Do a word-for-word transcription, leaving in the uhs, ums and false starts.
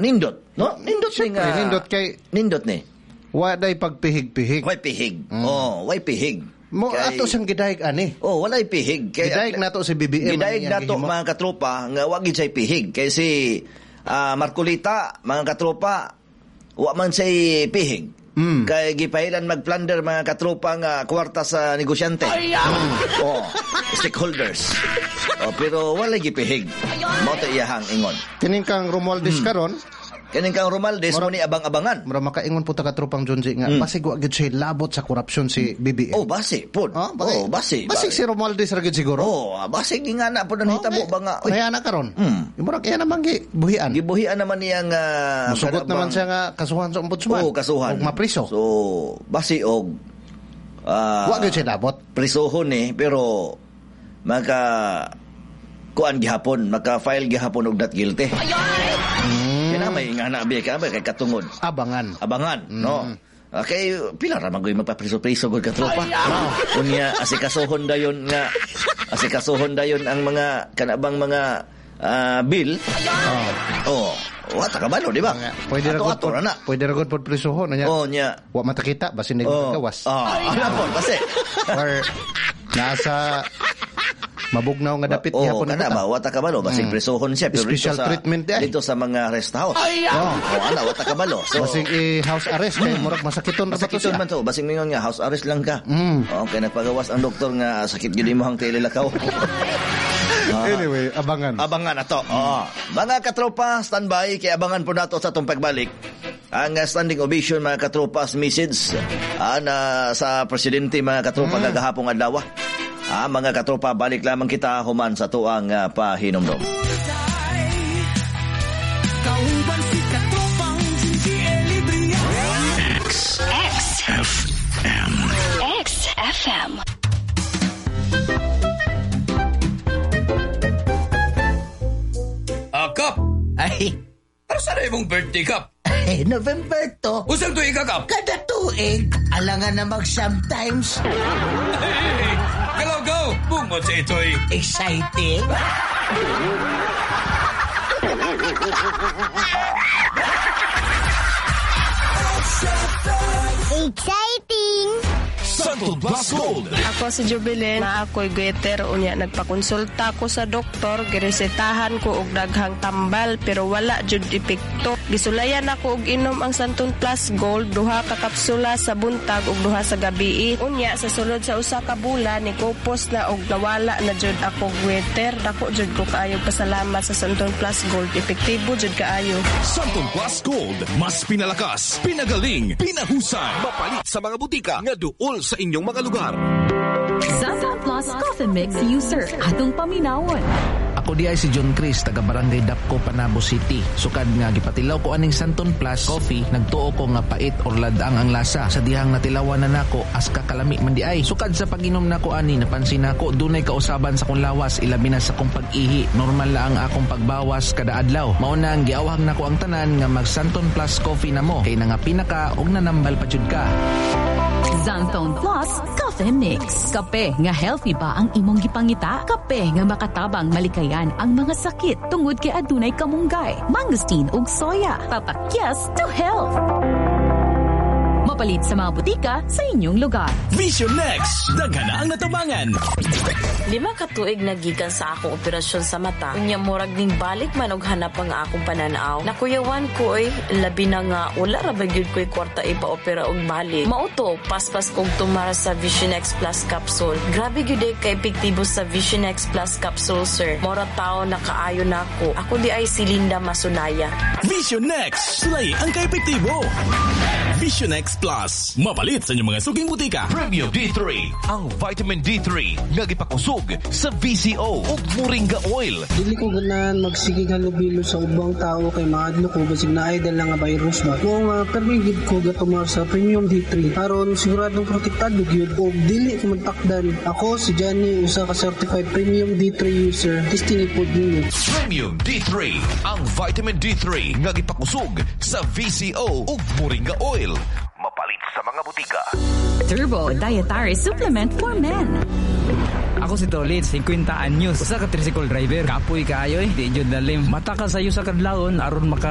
Nindot, no? Nindot ni nga. Nindot kay nindot ni. Wa day pagpihig-pihig. Way pihig. Oh, way pihig. Mo Kay- ato siyang gidayeg ani. Oh, walay pihig. Kay Gidayeg nato si B B M. Gidayeg ang nato gihimo. Mga katropa nga wa gid siya pihig kay si ah, Marcolita, mga katropa, wa man siya pihig. Mm. Kay gipailan magplunder, mga katropa, nga kwarta sa negosyante. Mm. Oh, stakeholders. Oh, pero walay gipihig. Mao to iyahang ingon. Kining kang Romualdez Hmm. karon, Kining kang Romualdez mo ni abang-abangan. Mura makaingon po ta katropang Junji nga basig wa gyud siya labot sa korupsyon si B B M. Oh, basi pod. Oh, bakit? Oh, basi. Basig si Romualdez ra gyud siguro. Oh, basig nga na pod ang hitabo ba nga. Uy, Kaya na karon. Mm. Murag iya naman gi buhian. Gibuhian naman niya nga Musugot naman siya nga kasuhan sa ombudsman. Oo, kasuhan. Og mapriso. So, basi og ah, Wa gyud siya labot. Prisohon eh, pero maka kuan gihapon, maka-file gihapon og not guilty. Mm. Kaya may nga na biya ka kay katungod. Abangan. Abangan, no? Okay, pila ra man gyud magpapriso-priso gud katropa. Unya asikasuhon dayon nga asikasuhon dayon ang mga kanabang mga ah, bill. Oh. Oh, wa ta kabalo, di ba? Pwede ra gud Ato-ato ra na. Pwede ra gud pod prisohon nya. Oh, nya. Wa matakita basin Oh. oh. gawas. Oh, ana po, basi. Or nasa mabugnaw nga dapit Oh, gihapon kana ba wa ta kabalo, basig Mm. prisohon siya pero Special dito sa treatment di ay. dito sa mga rest house. Oh. Oh, ana wa ta kabalo. So Basig i-house arrest kay murag masakiton ra ba to Masakiton siya. man to, basig mingon nga house arrest lang ka. Mm. Okay, nagpagawas ang doktor nga sakit gyud imong tililakaw. Ah. Anyway, abangan. Abangan ato. Oo. Mga katropa, standby kay abangan po nato sa atong pagbalik. Ang uh, standing ovation, mga katropa, message ah, na sa presidente, mga katropa, Mm. gagahapong adlaw. Ah, mga katropa, balik lamang kita human sa tuang uh, pahinomdom. Kauban si Katropang Gingy Elibria. X X F M X F M. Ah, Kap! Ay, Para sa imong birthday, Kap? Ay, November to. Usang tuig ka, Kap? Kada tuig, alangan na mag sometimes. Hey, galaw, go! Bungot sa ito'y Exciting. Exciting! Santo Plus Gold. Ako si Jubilin, na ako'y goiter, unya nagpakonsulta ko sa doktor, giresetahan ko og daghang tambal pero wala jud epekto. Gisulayan ako og inom ang Santon Plus Gold, duha ka kapsula sa buntag ug duha sa gabii. Unya sa sulod sa usa ka bulan nikupos na og nawala na jud ako goiter. Dako jud ko kaayo pasalamat sa Santon Plus Gold, epektibo jud kaayo. Santon Plus Gold. Mas pinalakas, pinagaling, pinahusay. Mapalit sa mga butika nga duol sa inyong mga lugar. Santon Plus Coffee Mix user atong paminawon. Ako di ay si John Chris, taga Barangay Dapco, Panabo City. Sukad nga gipatilaw ko aning Santon Plus Coffee, nagtuo ko nga pait or ladang ang lasa. Sa dihang natilawan na nako, as kakalami man di ay. Sukad sa pag-inom nako ani, napansin nako dunay kausaban sa kong lawas, ilabi na sa kong pag-ihi. Normal la ang akong pagbawas kada adlaw. Mao na ang giawhag nako ang tanan nga mag Santon Plus Coffee na mo, kay nga pinaka og nanambal pa jud ka. Xanthone Plus Coffee Mix. Kape nga healthy ba ang imong gipangita? Kape nga makatabang malikayan ang mga sakit tungod kay adunay kamunggay, mangosteen ug soya. Tatak yes to health. Mapalit sa mga butika sa inyong lugar. Vision Next. Daghan na ang natabangan. Lima ka tuig nagikan sa akong operasyon sa mata. Unya murag ning balik man og hanap ang akong pananaw. Nakuyawan ko oy, labi na nga wala ra ba gyud ko'y kwarta ipa-opera og balik. Mao to, paspas kog tumara sa Vision X Plus capsule. Grabe gyud ay ka-epektibo sa Vision X Plus capsule, sir. Mora tao na kaayo nako. Ako di ay si Linda Masunaya. Vision Next. Sulay ang ka-epektibo. Vision X Plus. Mapalit sa inyong mga suking butika. Premium D three. Ang vitamin D three nga gipakusog sa V C O ug Moringa Oil. Dili ko ganahan magsigig halubilo sa ubang tao kay maadlo ko basig naay dala nga virus ba. Mao nga permi gid ko gatumar sa Premium D three aron siguradong protektado gyud ug dili ko magtakdan. Ako si Johnny, usa ka certified Premium D three user. Testing ipod ninyo. Premium D three. Ang vitamin D three nga gipakusog sa V C O ug Moringa Oil. Mapalit sa mga butika. Turbo Dietary Supplement for Men. Ako si Tolit, singkwenta anyos. Usa ka tricycle driver. Kapoy kaayo eh. Di jud lalim. Mata ka sayo sa kadlawon aron maka